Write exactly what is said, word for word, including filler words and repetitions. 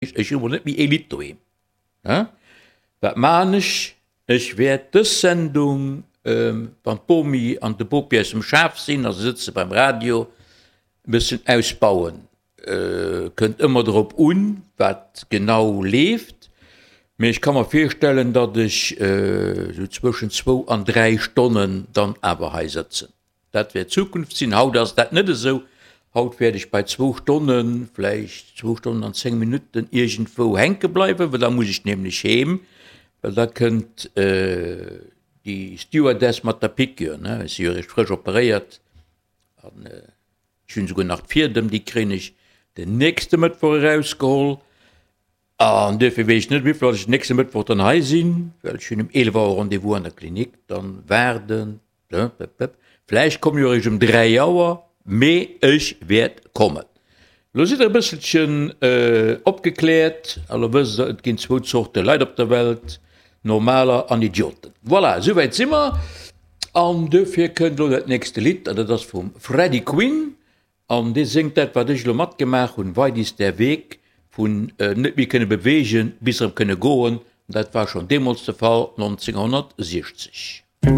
Ech hu mol net méi ee Lidd doheem. Wat maachen ech? Ech wäert dës Sendung, wann d'Bomi an de Bopi aus dem Schaf sinn a se sëtze beim Radio, e bëssen ausbauen. Kënnt ëmmer drop un, wat genau leeft, mee ech ka mer virstellen, datt ech esou zwëschen zwou an dräi Stonnen dann awer hei sëtzen. Dat wäert d'Zukunft sinn. Haut ass dat net esou. Haut wäert ech bei zwou Stonnen, vläicht zwou Stonnen an zéng Minutten iergendwou hänke bleiwen, well da muss ech nämlech heem, well da kënnt déi Stewardess mat der Piqûre, ne. Ech si jo eréischt frësch operéiert an ech hunn esouguer nach d'Fiedem, déi kréien ech den nächste Mëttwoch erausgeholl. An duerfir weess ech net, wéivill datt ech den nächste Mëttwoch dann hei sinn, well ech hunn um eelef Auer Rendez-vous an der Klinik, dann waarden, vläicht kommen ech och eréischt um dräi Auer, mee ech wäert kommen. Elo sidd der e bësselchen opgekläert a lo wësst der, et ginn zwou Zorte Leit op der Welt, Normaler an Idioten. Voilà, esouwäit si mer. An duerfir kënnt elo dat nächste Lidd, an dat ass vum Freddy Quinn. An dee séngt dat, wat ech elo matgemaach hunn, Weit ist der Weg, vun net méi kënne beweegen bis erëm kënne goen. Dat war schonn deemools de Fall, nonzénghonnertsiechzeg.